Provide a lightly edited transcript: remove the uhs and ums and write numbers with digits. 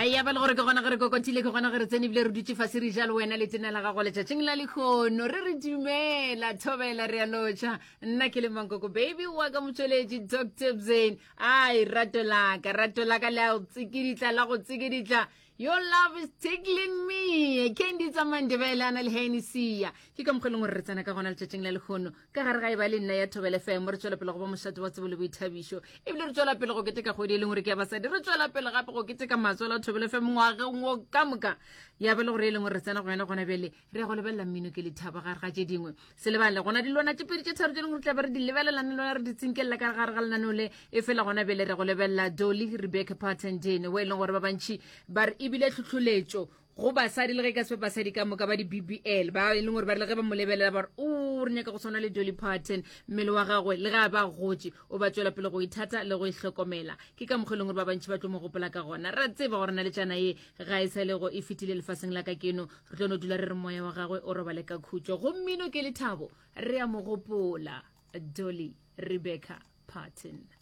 Ya ba le gore ke gona ge re kokotile, ke gona ge re tsene ebile re dutše fase re ja le wena letena la gago letšatšing la lekgono. Re re dumela, thobela, re a lotšha. Nna ke le Mankoko baby wa ka motšweletši Dr. Bzane. Ai, rato laka, rato laka le a go tsikiditla, la go tsikiditla. Your love is tickling me. Candy tsa Mandebele a na le Hennessy. Ke ka mokgwa e leng gore re tsena ka gona letšatšing la lekgono. Ka gare ga e ba le nna ya Thobela FM re tšwela pele go ba mošate wa tsebo le boithabišo. Ebile re tšwela pele go keteka kgwedi e leng gore ke ya basadi. Re tšwela pele gape go keteka matswalo a Thobela FM ngwageng wo ka moka. Ya ba le gore e leng gore re tsena go yona gona bjale re ya go lebelela mmino ke lethabo gare ga tše dingwe. Se lebale gona dilwana tše pedi tše tharo tše leng gore tla be re di lebelelane lona re di tsinkelela ka gare ga lenaneo le e fela gona bjale re go lebelela Dolly Rebecca Parton Dene o e leng gore ba bantši ba re ebile tlhohloletšo go basadi le ge ka se basadi ka moka ba di-bbl ba e leng gore ba re le ge ba mo lebelela ba re o re nyaka go tshwana le Dolly Parton mmele wa gagwe le ge a ba gotše o ba tšwela pele go ithata le go ihlokomela ke ka mokgwa e leng gore ba bantši ba tlo mo gopola ka gona ra tseba gore na le tšana ye ga e sa lego e fetile lefaseng la ka keno re tlo no dula re re moya wa gagwe o robale ka khutšo go mmino ke lethabo re a mo gopola Dolly Rebecca Parton.